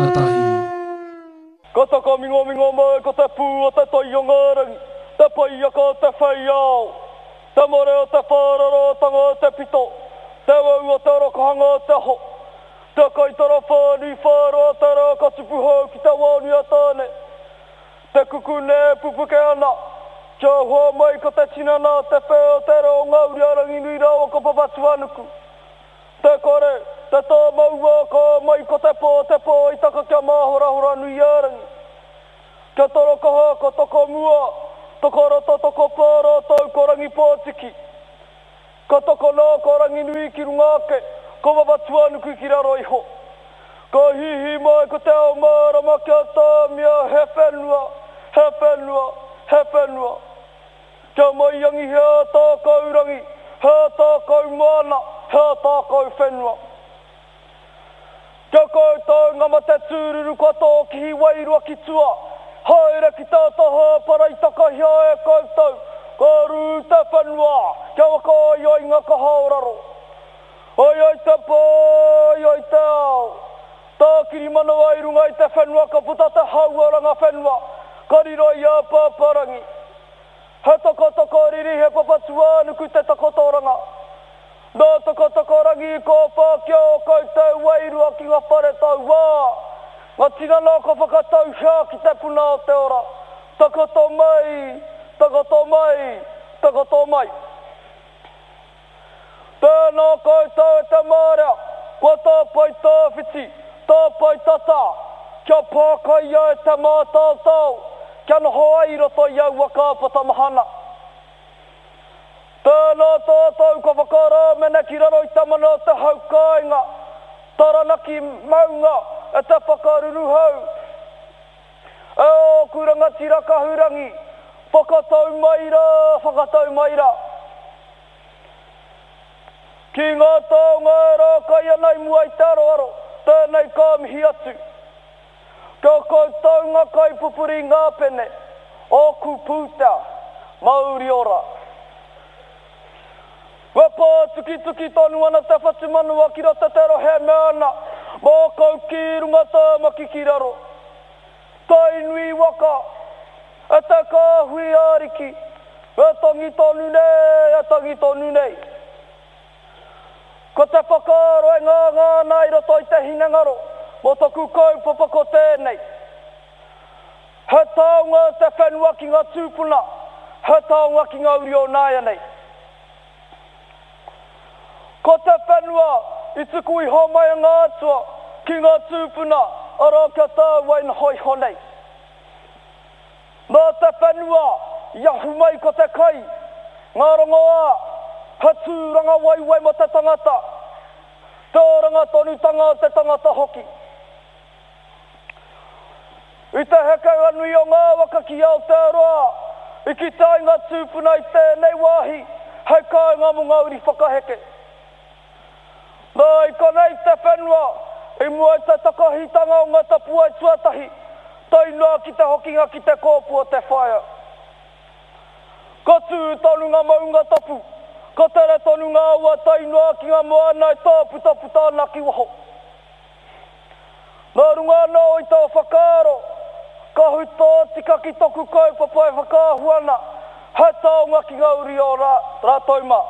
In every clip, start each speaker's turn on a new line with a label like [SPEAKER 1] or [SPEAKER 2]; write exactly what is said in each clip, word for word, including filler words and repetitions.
[SPEAKER 1] rangatahi.
[SPEAKER 2] Ka takamingomingo mai ko te pū o te tai o ngā rangi, te paiaka o te whei ao, te mare o te whārarātanga o te pito, te wau o te rokohanga o te aho, te kaitara whānui whāroa te rā ka tupu hou ki te wānui a Tāne, te kukune e pupuke ana, kia hua mai ko te tinana o te whē o te reo o ngā uri a Ranginui rāua ko Papatūānuku. Te kore, te tāmaua ka mai ko te pō, te pō i taka kia māhorahora nui ā-rangi. Kia torokaha ko Tokomua, Tokoroto tokopā rātou ko Rangipōtiki. Ka tokona ko Ranginui ki runga ake, ko Papatūānuku ki raro iho. Ka hīhī mai ko te ao mārama kia tāmia he whenua, he whenua, he whenua. Kia maiangi he ātākau rangi, he ātākau moana, he ātākau whenua. Kia koutou ngā mate tūruru kua tōkihi wairua ki tua, haere ki tā taha para i takahia e koutou, ka rū te whenua, kia whakaai ai ngā kaha o raro. Ai ai te pō, ai ai te ao. Tākiri manawa i runga i te whenua ka puta te hau o Rangawhenua, ka riro i a Pāpārangi. He tokotoko riri, he Papatūānuku te takotoranga. Nā Tokotokorangi i kōwhā ki ō koutou wairua ki ngā whare tauā, ngā tinana kua whakatauhia ki te puna o te ora. Takoto mai, takoto mai, takoto mai. Tēnā koutou e te marea, kua tāpae tāwhiti, tāpae tata, kia pākaia e te mātaotao, kia noho ai i roto i aua kāpata mahana. Tēnā tātou kua whakarāmene ki raro i te mana o te hau kāinga, Taranaki maunga e te whakaruruhau. E ōku rangatira kahurangi, whakatau mai rā, whakatau mai rā. Ki ngā taonga e rākai ana i mua i te aroaro, tēnei ka mihi atu. Kia koutou ngā kaipupuri i ngā pene, ōku pūtea, mauri ora. E pātukituki tonu ana te whatumanawa ki roto te rohe e mea ana, Mākau ki runga Tāmaki ki raro. Tainui waka, e te kāhui ariki, e tangi tonu nei, e tangi tonu nei. Ko te whakaaro e ngāngā ana i roto i te hinengaro mō taku kaupapa ko tēnei. He taonga te whenua ki ngā tūpuna, he taonga ki ngā uri o nāianei. Ko te whenua i tuku iho mai a ngā atua ki ngā tūpuna, arā kia tāua e noho iho nei. Nā te whenua i ahu mai ko te kai, ngā rongoā, he tūranga waiwai mō te tangata, te oranga tonutanga o te tangata hoki. I te hekenga nui o ngā waka ki Aotearoa, i kite ai ngā tūpuna i tēnei wāhi hei kāinga mō ngā uri whakaheke. Nā, i konei te whenua i mua i te takahitanga o ngā tapuwae tuatahi, tae noa ki te hokinga ki te kōpū o te whaea. Ka tū tonu ngā maunga tapu, ka tere tonu ngā awa tae noa ki ngā moana e tāputaputa ana ki waho. Nā runga anō i tō whakaaro, ka hui tōtika ki toku kaupapa e whakaahua ana, he taonga ki ngā uri o rātou mā.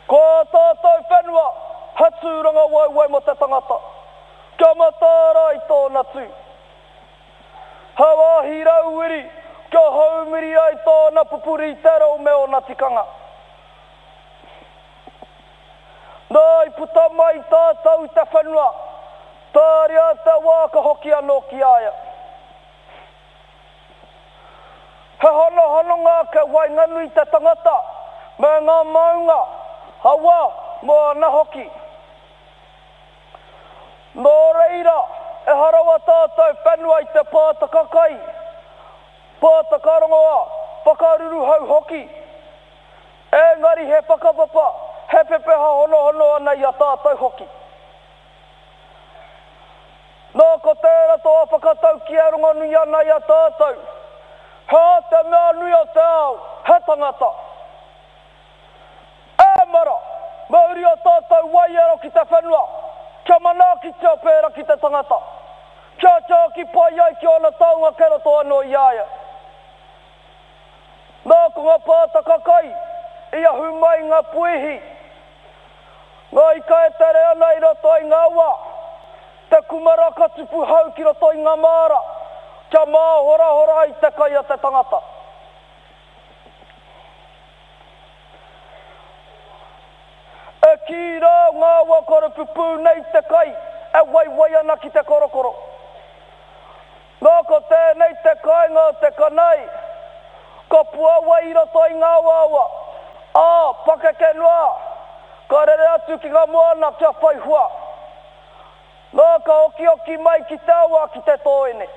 [SPEAKER 2] Ko ā tātou whenua he tūranga waewae mō te tangata, kia mataara ai tōna tū. He wāhi rauwiri kia haumiri ai tōna pupuri i te reo me ōna tikanga. Nā, i puta mai tātou i te whenua, tāria te wā ka hoki anō ki a ia. He honohononga ake waenganui i te tangata me ngā maunga, awa, moana hoki. Nō reira, ehara wā tātou whenua i te pātaka kai, pātaka rongoā, whakaruruhau hoki. Engari he whakapapa, he pepeha honohono ana i a tātou hoki. Nā, ko tērā toa whakataukī e rongonui ana i a tātou, He aha te mea nui o te ao, he tangata. E mara, mauri o tātou waiaro ki te whenua, tangata, kia tiaki pai ai ki ōna taonga kei roto anō i a ia. Nā ko ngā pātaka kai i ahu mai ngā puihi, ngā ika e tere ana i roto i ngā awa, te kumara ka tupu hau ki roto i ngā māra, kia māhorahora ai te kai a te tangata. E kī rā ngā awa korepupū nei te kai e waiwai ana ki te korokoro. Nā ko tēnei te kāinga o te kanai, ka puāwai i roto i ngā awaawa, ā, pakeke noa, ka rere atu ki ngā moana kia whai hua. Nā ka okioki mai ki te awa ki te tōene.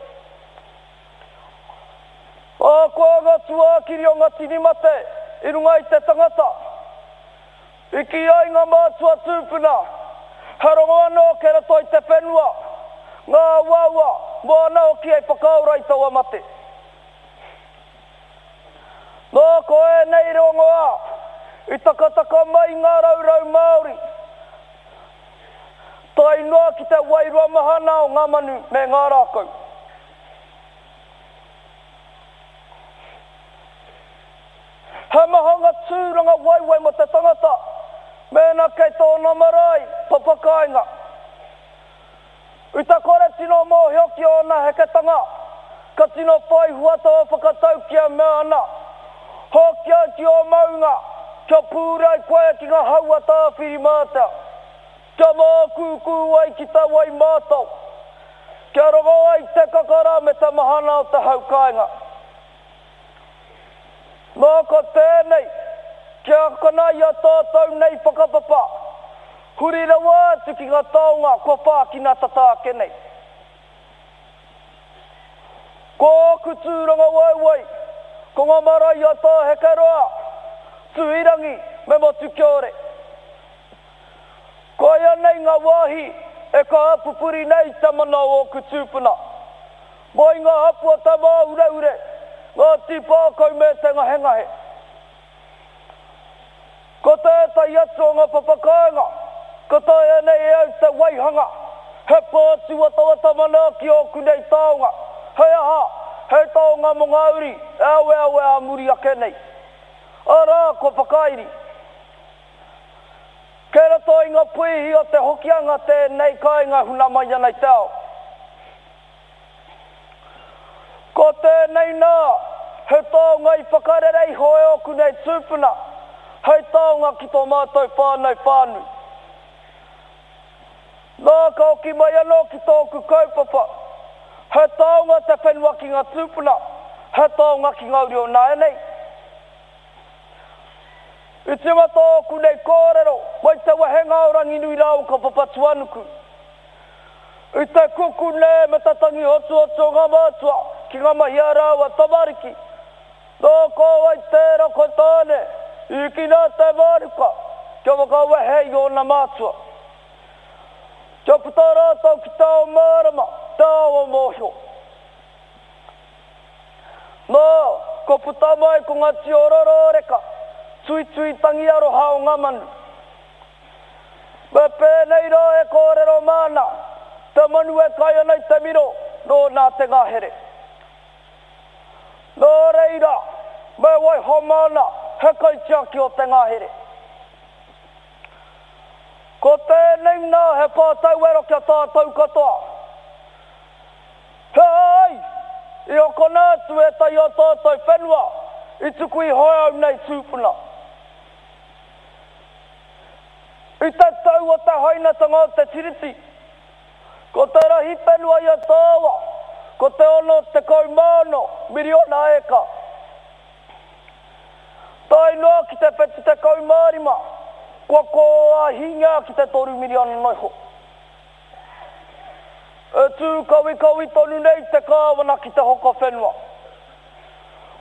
[SPEAKER 2] Ahakoa ngā tūākiri o ngā tini mate i runga i te tangata, i kī ai ngā mātua tūpuna, he rongo anō kei roto i te whenua, ngā awaawa, moana hoki hei whakaora i taua mate. Nā ko ēnei rongoā i takataka mai i ngā raurau Māori, tae noa ki te wairua mahana o ngā manu me ngā rākau. He maha ngā tūranga waiwai mō te tangata mēnā kei tōna marae, papakāinga. I te kore tino mōhio ki ōna heketanga, ka tino whai hua tō whakatauki e mea ana, Hoki ai ki ō maunga, kia pūrei koe ki ngā hau a Tāwhirimātea, kia mākūkū ai ki te wai mātao, kia rongo ai te kakara me te mahana o te hau kāinga. Nā ko tēnei, kia akona i a tātou nei whakapapa, huri rawa atu ki ngā taonga kua whākina tata ake nei. Ko ōku tūrangawaewae, ko ngā marae a Tāhekeroa, Tuhirangi me Motukiore. Koia nei ngā wāhi e kaha pupuri nei i te mana o ōku tūpuna. Mai ngā hapu o Te Māureure, Ngāti Pākau me Te Ngahengahe. Ko tētahi atu o ngā papakāinga ka taea nei e au te waihanga, he pā tūwatawata manaaki ōku nei taonga, hei aha, hei taonga mō ngā uri e aweawe ā muri ake nei. Arā, kua whakairi. Kei roto i ngā puihi o te Hokianga tēnei kāinga huna mai ana i te ao. Ko tēnei nā, he taonga i whakarere iho e ōku nei tūpuna, hei taonga ki tō mātou whānau whānui. Nā, ka hoki mai anō ki tōku kaupapa, he taonga te whenua ki ngā tūpuna, he taonga ki ngā uri o nāianei. I tīmata ōku nei kōrero mai te wehenga o Ranginui rāua ko Papatūānuku. I te kukune me te tangi hotuhotu o ngā mātua ki ngā mahi a rāua tamariki, nō ko wai tērā ko Tāne i hikina te mānuka kia whakawehe i ōna mātua. Kia puta rātou ki te ao mārama, te ao mōhio. Nā, kua puta mai ko ngā tio rororeka, tuitui tangi aroha o ngā manu. Me pēnei rā e kōrero māna, te manu e kai ana i te miro, nōna te ngahere. Nō reira, me waiho māna he kaitiaki o te ngahere. Ko tēnei nā he pātauwero ki a tātou katoa. He aha ai i hokona atu ētahi o tātou whenua i tuku iho e au nei tūpuna? I te tau o te hainatanga o te Tiriti, ko te rahi whenua i a Tāwa, ko te ono tekau mā ono miriona eka. Tae noa ki te whetu tekau mā rima, kua kōāhingia ki te toru miriona noa iho. E tū kawikawi tonu nei te Kāwana ki te hoko whenua.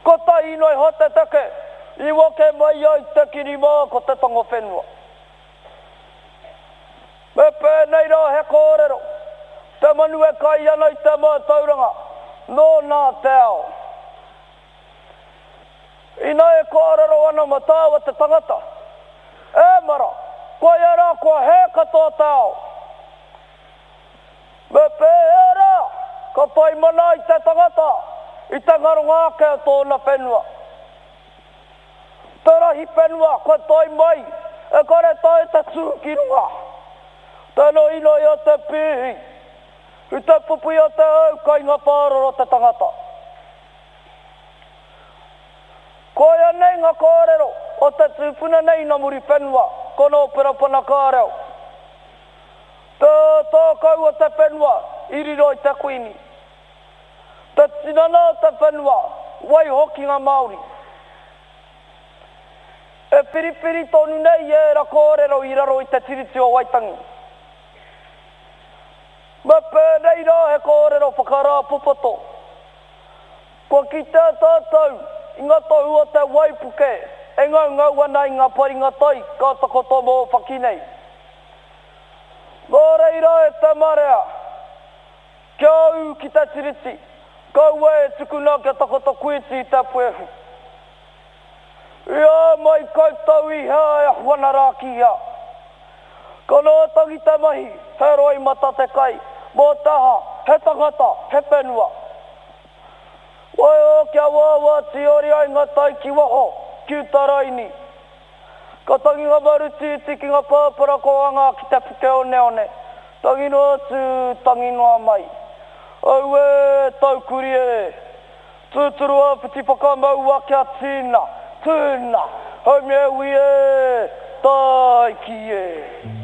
[SPEAKER 2] Kotahi noa iho te take i wake mai ai te kirimā ko te tango whenua. Me pēnei rā he kōrero, te manu e kai ana i te mātauranga, nōna te ao. Ina e kōrero ana mō tāua te tangata, e mara, koia rā kua hē katoa te ao. Me whai mana i te tangata i te ngaronga ake o tōna whenua. Te rahi whenua kua tae mai e kore tae te tū ki runga. Te noinoi o te pīhi, i te pupui o te au kai ngā whāroro te tangata. Koia nei ngā kōrero o te tūpuna nei nā Muriwhenua, ko Nōpera Panakāreo. Te tākau o te whenua i riro i te Kuini. Te tinana o te whenua, waihoki ngā Māori. E whiriwhiri tonu nei ērā kōrero i raro i te Tiriti o Waitangi. Me pēnei rā he kōrero whakarāpopoto. Kua kitea tātou i ngā tohu o te waipuke e ngaungau ana i ngā paringa tai ka takoto mōwhaki nei. Nō reira e te marea, kia ū ki te Tiriti, kaua e tukuna kia takoto kuiti i te puehu. I ā mai koutou i hea e ahu ana rā ki hea. Ka noho tangi te mahi, he roimata te kai, mō te aha, he tangata, he whenua. Waiho kia wāwā tīori ai ngā tai ki waho, ki uta raini. Ka tangi ngā maru tīti ki ngā pāpara kōhanga ki te puke oneone, tangi noa atu, tangi noa mai. Auē, taukuri e! Tūturu āpiti whakamaua kia tīna, tūna, haumia e ui e, tāiki e!